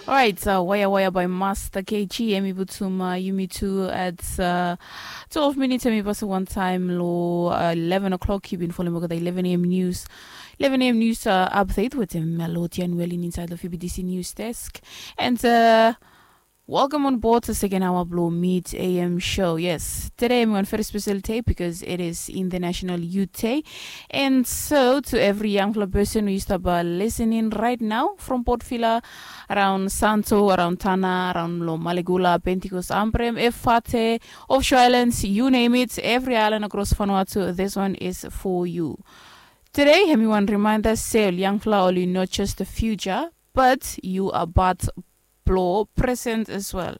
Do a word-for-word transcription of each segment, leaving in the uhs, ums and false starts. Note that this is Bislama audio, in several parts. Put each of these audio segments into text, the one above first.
Orait, waya waya bai Masta K G, em i putum yumi tu at twelve minits, em i pasim wantaem long eleven o'clock. Yu bin folem olgeta eleven a.m. nius, eleven a.m. nius update wetem Melodian Welin insaed long F B T C Nius Desk. And welcome on board the second hour blong Mid A M show. Yes, today em i wan very special day because it is International Youth Day. And so to every yangfala person we yu stap listening right now from Port Vila, around Santo, around Tanna, around long Malegula, Pentecost, Ambrym, Efate, Offshore Islands, you name it, every island across Vanuatu, this one is for you. Today em i wan reminder se ol yangfala oli not just the future, but yu are part blong present as well.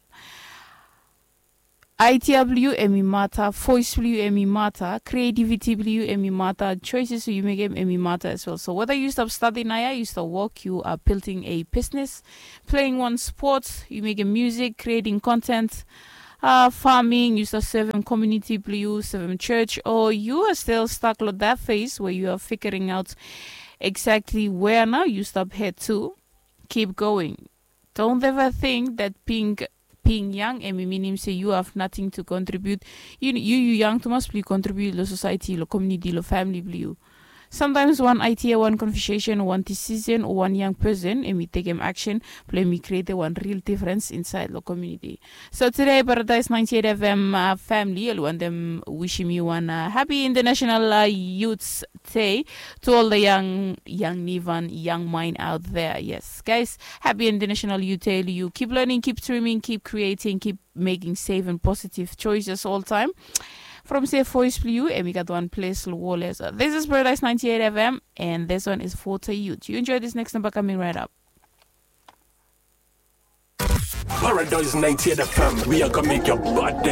Idea blong yu em i mata, voice blong yu em i mata, creativity blong yu em i mata, choices we yu mekem em i mata as well. So whether yu stap stadi naoia, yu stap wok, yu are building a business, playing one sport, yu mekem music, creating content, farming, yu stap sevem community blong yu, sevem church, o yu are still stuck long that phase where yu are figuring out exactly where nao yu stap head to. Keep going. Don't ever think that being being young em i minim se yu have nothing to contribute. Yu yu yang tumas blong yu contribute long society, long community, long family blong yu. Sometimes one idea, one conversation, one decision, o one young person em i tekem action blong em i createm one real difference insaed long community. So today Paradise ninety-eight F M family oli wantem wishim yu wan happy International Youth Day to all the young, young Nivan, young mind out there. Yes, guys, happy International Youth Day. You keep learning, keep dreaming, keep creating, keep making safe and positive choices all time. From se voice blong yu em i gat wan ples long wol ya. So this is Paradise ninety-eight F M and this one is Forte Youth. You enjoy this next number coming right up. Paradise ninety-eight F M, we are gonna make your body